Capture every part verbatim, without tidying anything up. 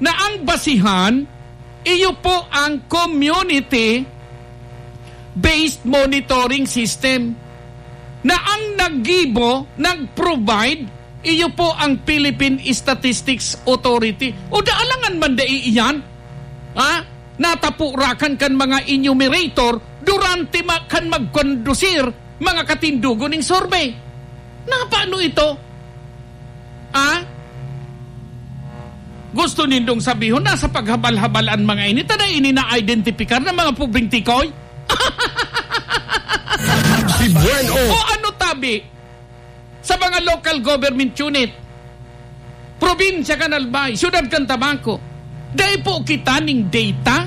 na ang basihan, iyo po ang community-based monitoring system, na ang naggibo, nag-provide, iyo po ang Philippine Statistics Authority. O da alangan man dai iyan, ha? Natapurakan kan mga enumerator durante ma-, kan magkondusir mga katindugon ning survey. Na paano ito? Ah? Gusto nindong sabihon na sa paghabal-habal an mga ini, ta dai ini na-identipikar na mga pobreng tikoy? Si Buen O. O ano tabi? Sa mga local government unit, probinsya kan Albay, siyudad kan Tabaco, dai po kita ning data?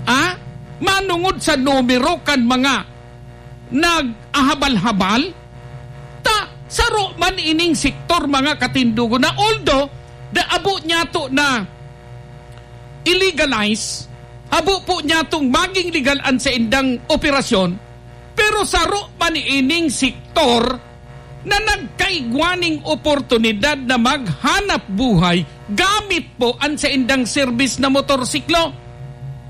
Ah? Manungod sa numero kan mga nag-ahabal-habal, ta saro man ining sektor, mga katindogon, na although da abo niyato na i-legalize, abo po niyatong maging legal an saindang operasyon, pero saro man ining sektor na nagkaigwa ning oportunidad na maghanap buhay gamit po an saindang serbis na motorsiklo,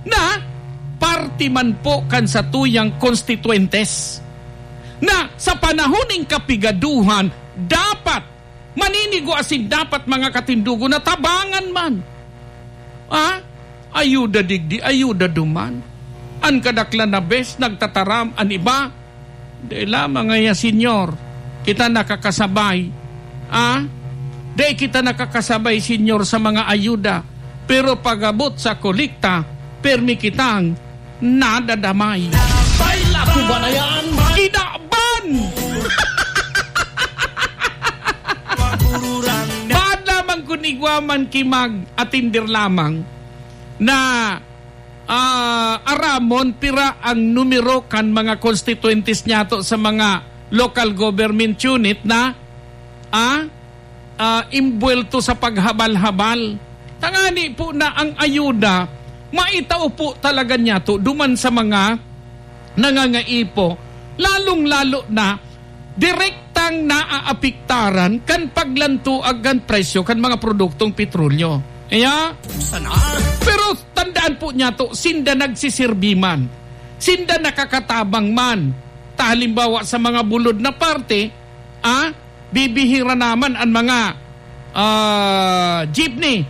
na parte man po kan satuyang konstituyentes, na sa panahon ning kapigaduhan, dapat maninigo asin dapat, mga katindogon, na tabangan man. Ah? Ayuda digdi, ayuda duman. An kadaklan na bes nagtataram, an iba, "Dai lamang ngaya, Senyor, kita nakakasabay." Ah? "Dai kita nakakasabay, Senyor, sa mga ayuda. Pero pag-abot sa kolekta, permi kitang nadadamay." Napay, ako ba na yan? Kinaban! Maan lamang kun igwa man ki mag-atinder lamang na, ah, aramon pira ang numero kan mga konstituyentes niyato sa mga local government unit na, ah, ah, imbuwelto sa paghabal-habal. Tangani po na ang ayuda, maitao po talaga niyato duman sa mga nangangaipo, lalong-lalo na direktang naaapektaran kan paglantoag kan presyo kan mga produktong petrolyo. Kaya, sana. Pero tandaan po niyato, sinda nagsisirbi man, sinda nakakatabang man. Ta halimbawa, sa mga bulod na parte, ah, bibihira naman an mga, ah, jeepney,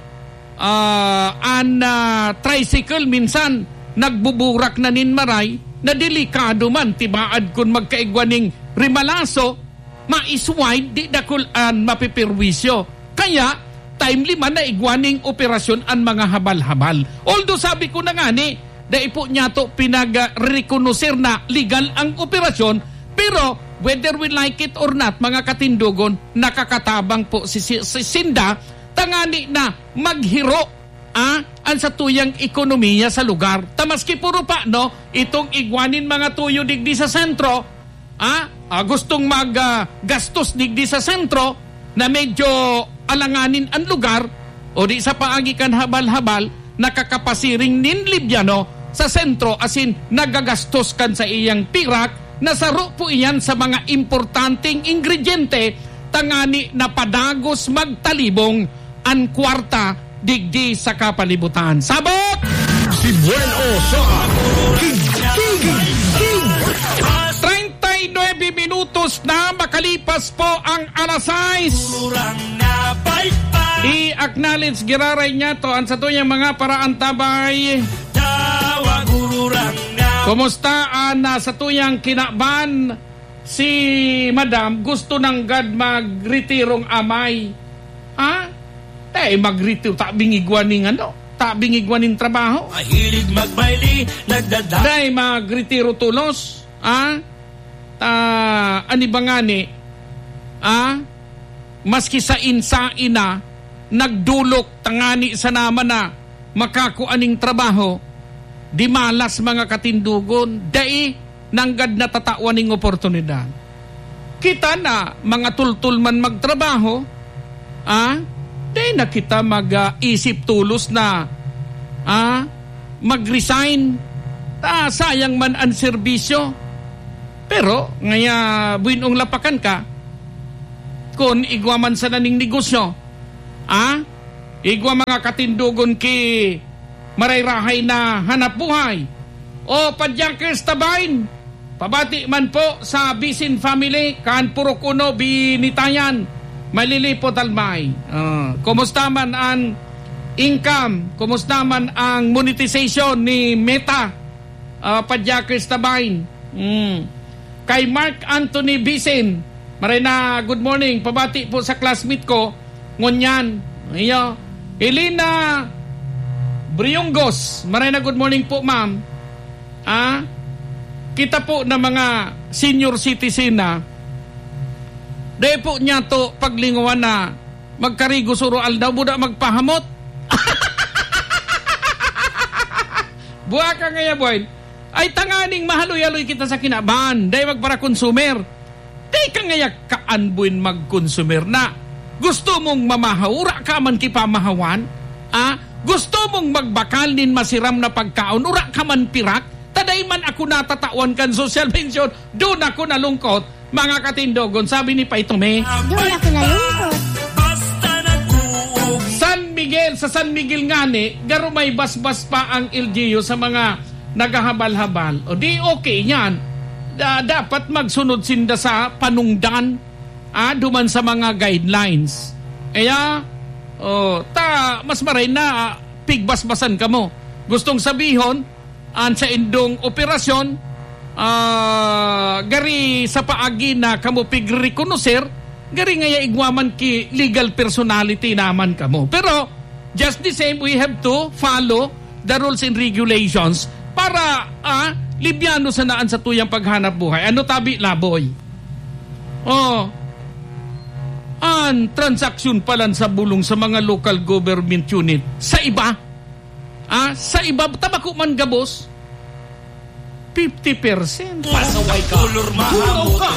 ah, an, ah, tricycle minsan nagbuburak na nin maray, na delikado man, tibaad kun magkaigwa ning rimalaso, ma-slide, di dakul an mapeperwisyo. Kaya, timely man na igwa ning operasyon an mga habal-habal. Although, sabi ko na ngani, dai po niyato pinag-rekonoser na legal ang operasyon, pero whether we like it or not, mga katindogon, nakakatabang po si, si, si sinda, tangani na maghiro, ah, an satuyang ekonomiya sa lugar. Ta maski puro pa, no, itong igwa nin mga tuyo digdi sa sentro, ah, ah, gustong mag, ah, gastos digdi sa sentro na medyo alanganin an lugar, o di sa paagi kan habal-habal, nakakapasiring nin libyano sa sentro asin nagagastos kan saiyang pirak, na saro po iyan sa mga importanteng ingrediente tangani na padagos magtalibong an kwarta digdi sa kapalibutan. Sabot! Si Buen O sa Tig-, Tig-, Tig-, treinta y nueve minutos na makalipas po ang alas sais. I-acknowledge giraray niyato an satuyang mga paraantabay. Kumusta an, ah, satuyang kinaban? Si Madam gusto nanggad magretirong amay. Ha? Tay magretiro, tabing igwa ning ano, tabing igwa ning trabaho. Mahilig magbayli, nagdada- Tay magretiro tolos, ha? Ta, ani ba ngani? Ha? Maski sain-sain na, nagdolok tangani sana man na makakua ning trabaho, di malas mga katindogon, dai nanggad natatawan ning oportunidad. Kita na, mga tultol man magtrabaho, ah, dai na kita mag, ah, isip tolos na, ah, mag-resign. Ta, sayang man an serbisyo. Pero, ngaya, buenong lapakan ka, kun igwa man sana ning negosyo, ah, Igwa mga katindogon ki marayrahay na hanap buhay. O, Padyakers Tabain, pabati man po sa Bisin family, kan Purok Uno, Binitayan, Malilipot, Albay. Ah, kumusta man ang income? Kumusta man ang monetization ni Meta? Ah, Padyakers Tabain. Mm. Kay Mark Anthony Bisin, maray na good morning, pabati po sa classmate ko, ngunyan. Iyo. Elena Briungos, maray na good morning po, ma'am. Ah, kita po na mga senior citizen na, dai po niya to paglingawan na magkarigo suro aldaw, buda magpahamot. Buha ka ngaya, Boy. Ay, tanganing mahaloy-haloy kita sa kinaban. Dai magpara-consumer. Dai ka ngaya kaan, Boy, mag-consumer na. Gusto mong mamahaw, ura ka man kipamahawan? Ah? Gusto mong magbakal nin masiram na pagkaon, ura ka man pirak? Ta dai man ako natatawan kan social pension, doon ako nalungkot. Mga katindogon, sabi ni Pay Tome. Doon ako nalungkot. San Miguel, sa San Miguel ngani, garo may basbas pa ang L G U sa mga naghahabal-habal. O di okay yan. Da-, dapat magsunod sinda sa panungdan, ah, duman sa mga guidelines. Kaya, oh, ta, mas maray na, ah, pigbasbasan kamo. Gustong sabihon, an saindong operasyon, ah, gari sa paagi na kamo pigrekonoser, gari ngaya igwa man ki legal personality naman kamo. Pero, just the same, we have to follow the rules and regulations para, ah, libyano sana an satuyang paghanap buhay. Ano tabi, Laboy? Oh, an transaksyon palan sa bulong sa mga local government unit sa iba, Ah, sa iba, ta bako man gabos, fifty percent. Pasaway ka. Turaw ka.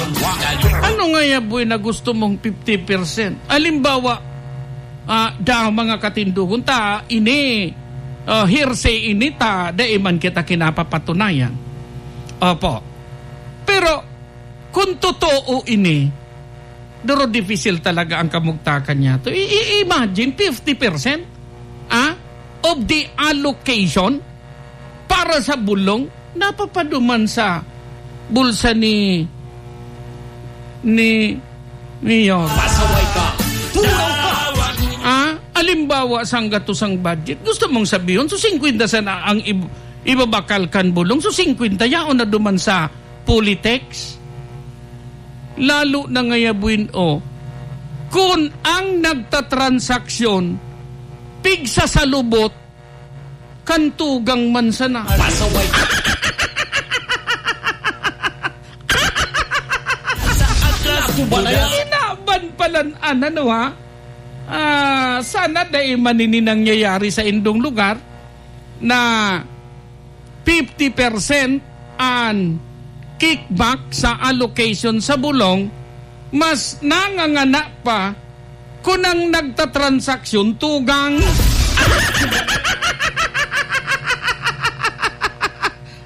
Ano ngaya, Boy, na gusto mong fifty percent? Halimbawa, ah, daw mga katindogon ta, ini, ah, hearsay ini ta, dai man kita kinapapatunayan. Opo. Pero, kung totoo ini, duro dipisil talaga ang kamugtakan niya to. I-, i-, imagine, fifty percent, ah, of the allocation para sa bulong napapaduman sa bulsa ni, ni Mayor. Pasaway ka! Turaw ka! Ah, alimbawa, sanggatos ang budget. Gusto mong sabihon, so, singkwenta sana ang ib-, ibabakal kan bulong. So, singkwenta yaon na duman sa Politex. Lalo na ngaya, Buin, oh, kun ang nagtatransaksyon pigsasalubot kan tugang man sana. Pasaway. Sa atlas ko ba na yan? Inaban palan an, ano, ha? Ah, sana dai man ini nangyayari sa indong lugar na fifty percent an kickback sa allocation sa bulong, mas nangangana pa kun ang nagtatransaksyon tugang.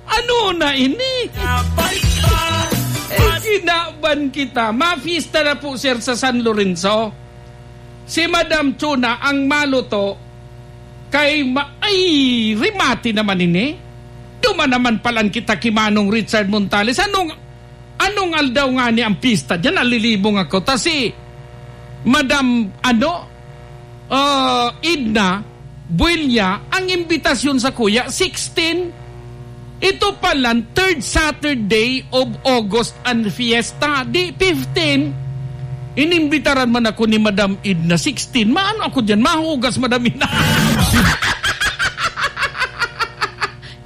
Ano na ini? Eh, kinaban kita. Mapista na po, sir, sa San Lorenzo. Si Madam Chona ang maluto kay ma-, ay, rimati naman ini. Duman naman palan kita ki Manong Richard Montales. Anong, anong aldaw ngani ang pista diyan? Nalilibong ako. Ta si Madam, ano, ah, Edna Builya, ang imbitasyon sa kuya, sixteen. Ito palan, third Saturday of August an fiesta, di fifteen. Inimbitaran man ako ni Madam Edna, sixteen. Maano ako diyan? Mahugas, Madam Edna.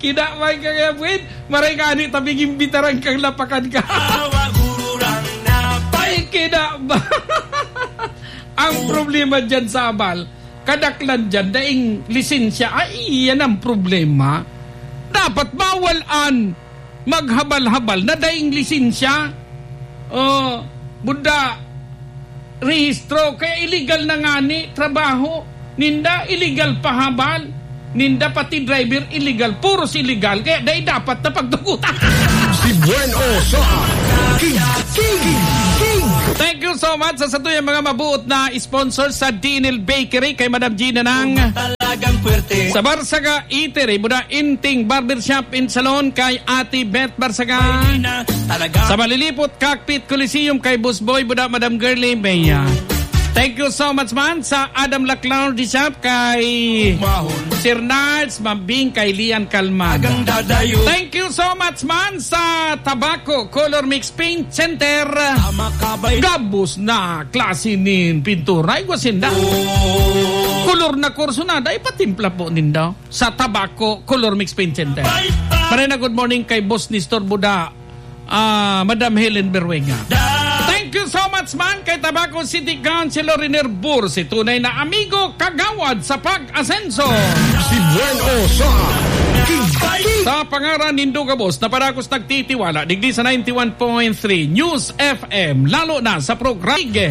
Kinaban ka kaya, Buin? Maray ka ni tabing imbitaran kang lapakan ka. Ay, kinaban. Ang problema diyan sa abal, kadaklan diyan, daing lisensya. Ay, iyan ang problema. Dapat bawal an maghabal-habal na daing lisensya. Oh, buda, rehistro. Kaya illegal na ngani, trabaho. Ninda, illegal pahabal. Ninda, pati driver, illegal. Puros illegal. Kaya dai dapat na pagtugutan. Bueno sa King, King, King. Thank you so much sa satuyang mga mabuot na sponsor sa Dinil Bakery kay Madam Gina ng Talagang puwerte. Sa Barsaga Eatery, Buda Inting Barbershop and Salon kay Ate Beth Barsaga. Talaga. Sa Malilipot Cockpit Coliseum kay Boss Boy Buda, Madam Girlie Mea. Thank you so much man sa Adam Laclau de Shop kay Mahon. Sir Nards Mambing kay Lian Kalmada. Agang dadayo. Thank you so much man sa Tabaco Color Mix Paint Center. Tama ka ba? Gabos na klase nin pintura. Igwa sinda. Oh. Kolor na kurso na, dai patimpla po ninda sa Tabaco Color Mix Paint Center. Bye, bye. Marina, good morning kay Boss Nestor Buda. Ah, Madam Helen Berwenga. Da- Thank you so much man kay Tabaco City Councilor Riner Bursi, tunay na amigo, kagawad sa pag-asenso. Si Buen O sa King, King. Sa pangaran nindo gabos na padagos nagtitiwala, digdi sa ninety-one point three News F M, lalo na sa programa.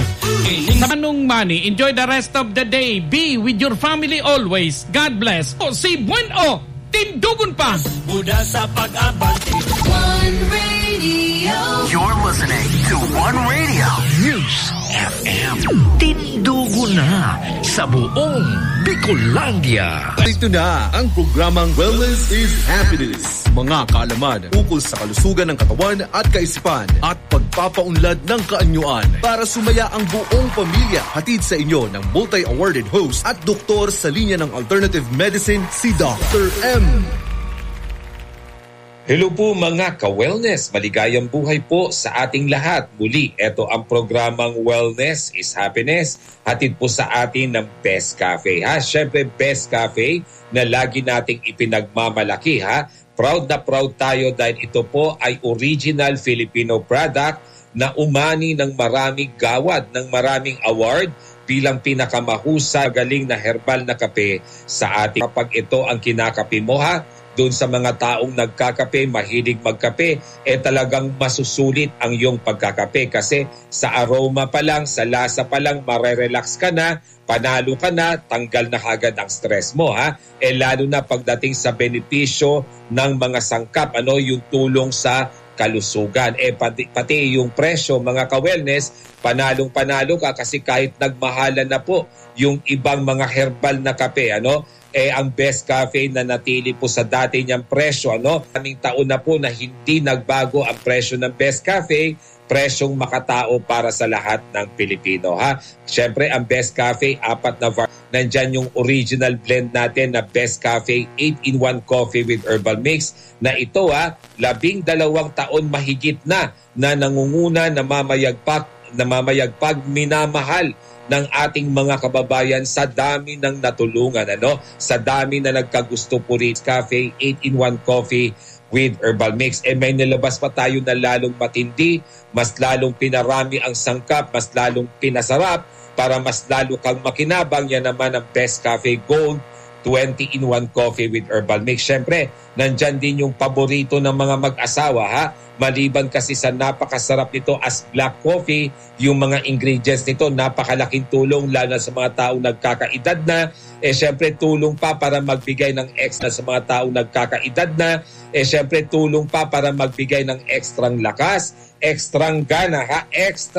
Sa Manong Money, enjoy the rest of the day. Be with your family always. God bless. O si Buen O. Tindogon pa. Buda sa pag-abante. One Radio. You're listening to One Radio News F M. Tindogon na sa buong Bicolandia. Ito na ang programang Wellness is Happiness. Mga kaalaman ukol sa kalusugan ng katawan at kaisipan at pagpapaunlad ng kaanyuan para sumaya ang buong pamilya. Hatid sa inyo ng multi-awarded host at doktor sa linya ng alternative medicine, si Doctor M. Hello po mga ka-wellness, maligayang buhay po sa ating lahat. Muli, eto ang programang Wellness is Happiness. Hatid po sa atin ng Best Cafe, ha? Siyempre, Best Cafe na lagi nating ipinagmamalaki, ha? Proud na proud tayo dahil ito po ay original Filipino product na umani ng maraming gawad, ng maraming award bilang pinakamahusay, magaling na herbal na kape sa atin. Kapag ito ang kinakape mo, ha, doon sa mga taong nagkakape, mahilig magkape, eh talagang masusulit ang iyong pagkakape kasi sa aroma pa lang, sa lasa pa lang, marerelax ka na, panalo ka na, tanggal na kaagad ang stress mo, ha? Eh, lalo na pagdating sa benepisyo ng mga sangkap, ano, yung tulong sa kalusugan. Eh, pati, pati yung presyo, mga ka-wellness, panalong-panalo ka kasi kahit nagmahalan na po yung ibang mga herbal na kape, ano, eh, ang Best Cafe na natili po sa dati niyang presyo, ano. Maraming taon na po na hindi nagbago ang presyo ng Best Cafe, presyong makatao para sa lahat ng Pilipino, ha. Siyempre, ang Best Cafe, apat na var-, nandyan yung original blend natin na Best Cafe eight-in-one Coffee with Herbal Mix na ito, ha, labing dalawang taon mahigit na, na nangunguna, namamayagpag, namamayagpag, minamahal ng ating mga kababayan sa dami ng natulungan, ano, sa dami na nagkagusto po rin. Cafe eight-in-one Coffee with Herbal Mix. Eh, may nilabas pa tayo na lalong matindi, mas lalong pinarami ang sangkap, mas lalong pinasarap para mas lalo kang makinabang. Yan naman ang Best Cafe Gold twenty-in-one Coffee with Herbal Mix. Siyempre, nandyan din yung paborito ng mga mag-asawa, ha? Maliban kasi sa napakasarap nito as black coffee, yung mga ingredients nito, napakalaking tulong, lalo na sa mga taong nagkakaedad na. Eh, siyempre, tulong pa para magbigay ng extra sa mga taong nagkakaedad na. Eh, siyempre, tulong pa para magbigay ng extrang lakas, extrang gana, ha? Extra